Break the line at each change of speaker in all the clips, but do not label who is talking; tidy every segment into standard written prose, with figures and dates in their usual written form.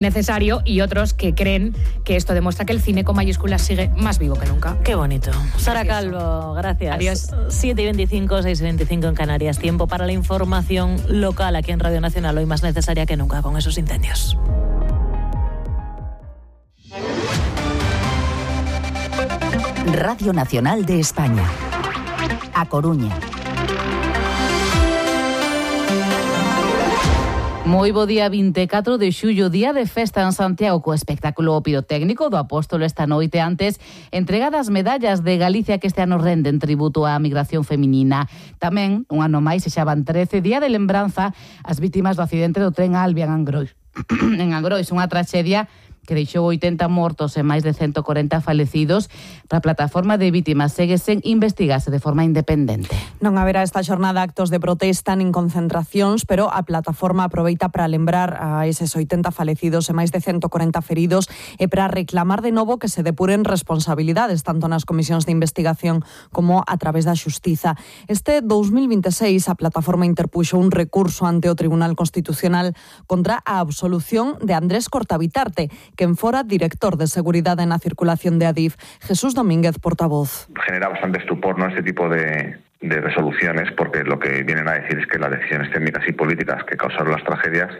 necesario, y otros que creen que esto demuestra que el cine con mayúsculas sigue más vivo que nunca.
Qué bonito. Sara Calvo, gracias.
Adiós.
7:25, 6:25 en Canarias. Tiempo para la información local aquí en Radio Nacional, hoy más necesaria que nunca con esos incendios.
Radio Nacional de España. A Coruña.
Moi bo día 24 de xullo, día de festa en Santiago, co espectáculo pirotécnico do Apóstolo esta noite. Antes, entregadas medallas de Galicia que este ano renden tributo á migración feminina. Tamén, un ano máis, xa van 13, día de lembranza ás vítimas do accidente do tren Alvia en Angrois. En Angrois, unha traxedia que deixou 80 mortos e máis de 140 falecidos. Para a plataforma de vítimas segue sen investigarse de forma independente.
Non haberá esta xornada actos de protesta nin concentracións, pero a plataforma aproveita para lembrar a eses 80 falecidos e máis de 140 feridos e para reclamar de novo que se depuren responsabilidades tanto nas comisións de investigación como a través da xustiza. Este 2026 a plataforma interpuxo un recurso ante o Tribunal Constitucional contra a absolución de Andrés Cortabitarte, quen fora director de Seguridade na Circulación de Adif. Jesús Domínguez, portavoz.
Genera bastante estupor, ¿no?, este tipo de resoluciones, porque lo que vienen a decir es que las decisiones técnicas y políticas que causaron las tragedias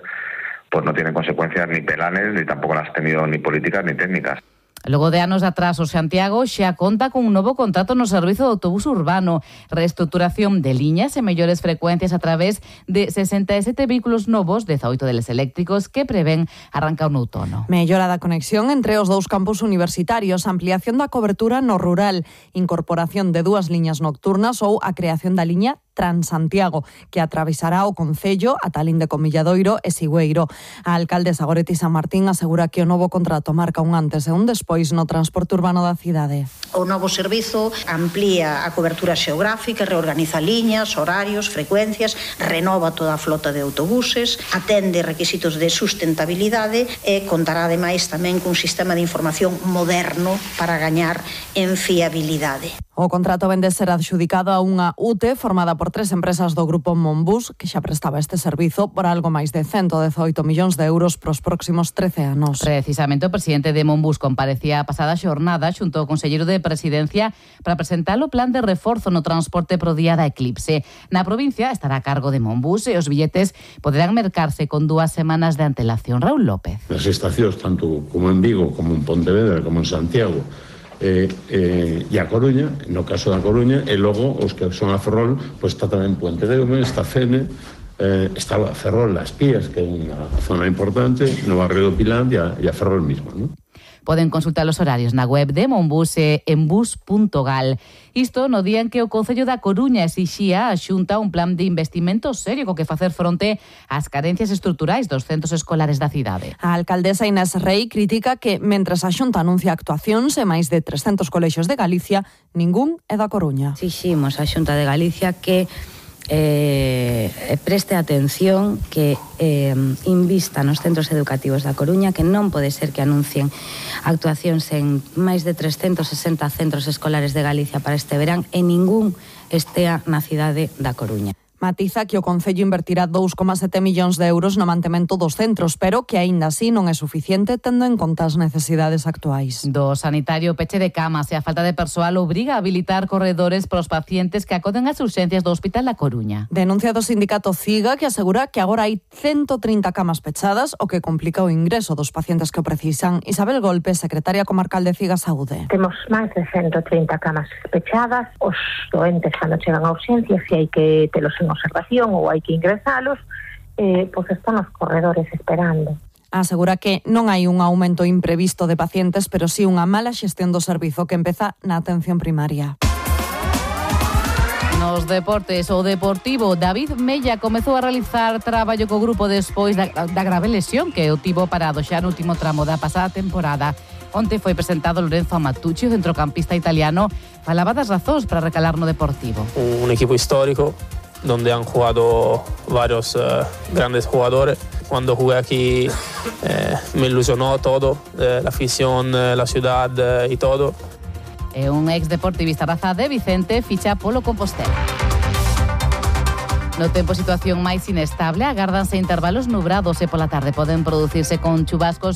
pues no tienen consecuencias ni penales, ni tampoco las han tenido ni políticas ni técnicas.
Logo de anos de atraso, Santiago xa conta con un novo contrato no servizo de autobús urbano, reestructuración de liñas e mellores frecuencias a través de 67 vehículos novos, 18 deles eléctricos, que prevén arrancar no outono.
Mellora da conexión entre os dous campus universitarios, ampliación da cobertura no rural, incorporación de 2 liñas nocturnas ou a creación da liña Transantiago, que atravesará o concello a Talín de Comilladoiro e Sigüeiro. A alcaldesa Goretti San Martín asegura que o novo contrato marca un antes e un despois no transporte urbano da cidade.
O novo servizo amplía a cobertura xeográfica, reorganiza liñas, horarios, frecuencias, renova toda a flota de autobuses, atende requisitos de sustentabilidade e contará ademais tamén cun sistema de información moderno para gañar en fiabilidade.
O contrato vende ser adxudicado a unha UTE formada por 3 empresas do grupo Monbus, que xa prestaba este servizo por algo máis de 118 millóns de euros pros próximos 13 anos.
Precisamente o presidente de Monbus comparecía a pasada xornada xunto ao conselleiro de Presidencia para presentar o plan de reforzo no transporte pro día da eclipse. Na provincia estará a cargo de Monbus e os billetes poderán mercarse con 2 semanas de antelación. Raúl López.
Nas estacións, tanto como en Vigo, como en Pontevedra, como en Santiago, e a Coruña, no caso da Coruña, e logo os que son a Ferrol, pois está tamén Puente Deume, está Fene, está a Ferrol Las Pías, que é unha zona importante, no barrio do Pilán e a Ferrol mismo, non?
Poden consultar os horarios na web de Monbus e en bus.gal. Isto no día en que o Concello da Coruña exixía a Xunta un plan de investimento serio co que facer fronte ás carencias estruturais dos centros escolares da cidade.
A alcaldesa Inés Rei critica que, mentres a Xunta anuncia actuacións en máis de 300 colexios de Galicia, ningún é da Coruña.
Exiximos a Xunta de Galicia que preste atención, que invista nos centros educativos da Coruña, que non pode ser que anuncien actuacións en máis de 360 centros escolares de Galicia para este verán e ningún estea na cidade da Coruña.
Matiza que o Concello invertirá 2,7 millóns de euros no mantemento dos centros, pero que aínda así non é suficiente tendo en conta as necesidades actuais.
Do sanitario, peche de camas e a falta de persoal obriga a habilitar corredores para os pacientes que acoden ás urxencias do Hospital da Coruña.
Denuncia do sindicato CIGA, que asegura que agora hai 130 camas pechadas, o que complica o ingreso dos pacientes que o precisan. Isabel Golpe, secretaria comarcal de CIGA Saúde.
Temos máis de 130 camas pechadas. Os doentes cando chegan a urxencias, se hai que telos en observación ou hai que ingresalos, pois están os corredores esperando.
Asegura que non hai un aumento imprevisto de pacientes, pero sí unha mala xestión do servizo que empeza na atención primaria.
Nos deportes, o Deportivo David Mella comezou a realizar traballo co grupo despois da grave lesión que o tivo parado xa no último tramo da pasada temporada. Onte foi presentado Lorenzo Amatucci, o centrocampista italiano, falaba das razóns para recalar no Deportivo.
Un equipo histórico donde han jugado varios grandes jugadores. Cuando jugué aquí me ilusionó todo, la afición, la ciudad y todo.
Un ex deportivista raza de Vicente ficha polo Compostela. No tempo, situación máis inestable, agárdanse intervalos nubrados e pola tarde poden producirse con chubascos